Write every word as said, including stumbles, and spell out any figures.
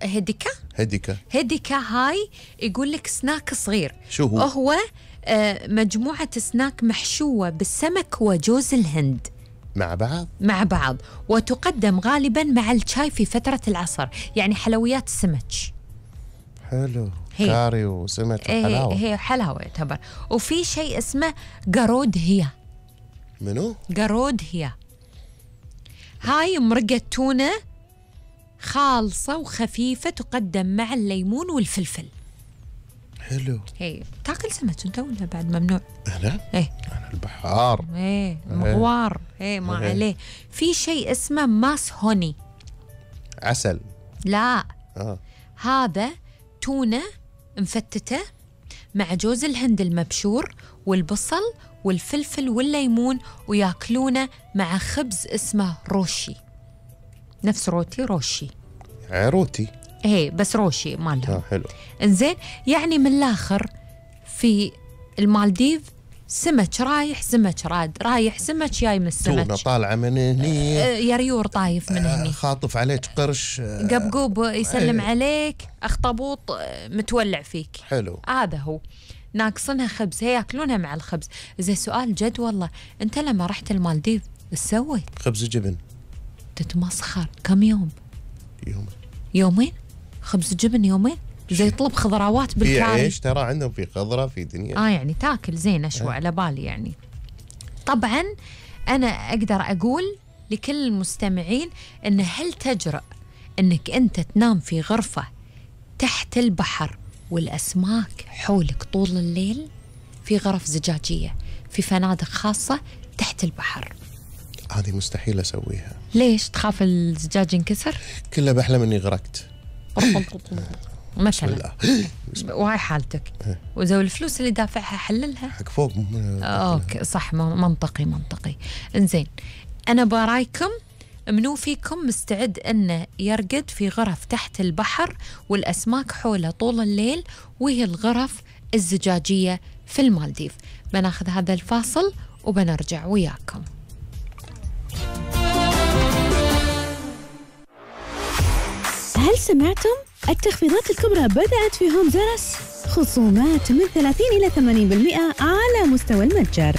هديكا هديكا هديكا هاي يقول لك سناك صغير. شو هو؟ هو آه مجموعة سناك محشوة بالسمك وجوز الهند مع بعض مع بعض، وتقدم غالبا مع الشاي في فترة العصر، يعني حلويات السمك. حلو. هي. كاري وسمك وحلاوة. هي, هي حلاوة يعتبر. وفي شيء اسمه قرود هي. منو؟ قرود هي هاي مرقة تونة خالصة وخفيفة، تقدم مع الليمون والفلفل. حلو. هي تاكل سمك انت ولا بعد ممنوع؟ انا؟ ايه انا البحار. ايه مغوار. ايه ما إيه. عليه. في شيء اسمه ماس هوني. عسل. لا اه هذا تونة مفتتة مع جوز الهند المبشور والبصل والفلفل والليمون، وياكلونه مع خبز اسمه روشي، نفس روتي روشي. عروتي. ايه بس روشي مالهم. اه حلو. انزين، يعني من الاخر في المالديف سمك رايح سمك راد، رايح سمك جاي من السمك. تونة طالعة من هني. آه يريور طايف من هني. خاطف عليك قرش. آه قبقوب يسلم ايه. عليك، اخطبوط آه متولع فيك. حلو. هذا هو. ناقصنها خبز، هي ياكلونها مع الخبز. زي سؤال جد والله، انت لما رحت المالديف ايش سويت؟ خبز جبن. تتمسخر. كم يوم؟ يوم. يومين؟ خبز جبن يومين؟ زي طلب خضروات في بالكاري. عيش ترى عندهم، في خضرة، في دنيا. اه يعني تاكل زين اشوى على بالي يعني. طبعا انا اقدر اقول لكل المستمعين ان هل تجرؤ انك انت تنام في غرفة تحت البحر والاسماك حولك طول الليل؟ في غرف زجاجية في فنادق خاصة تحت البحر. هذه مستحيل اسويها. ليش؟ تخاف الزجاج ينكسر؟ كلها بحلم اني غرقت. مثلا. وهاي حالتك. وزو الفلوس اللي دافعها حللها حق فوق. اوكي صح، منطقي منطقي. انزين، انا برايكم منو فيكم مستعد انه يرقد في غرف تحت البحر والاسماك حوله طول الليل، وهي الغرف الزجاجية في المالديف؟ بناخذ هذا الفاصل وبنرجع وياكم. هل سمعتم؟ التخفيضات الكبرى بدأت في هوم زارس، خصومات من ثلاثين إلى ثمانين بالمئة على مستوى المتجر.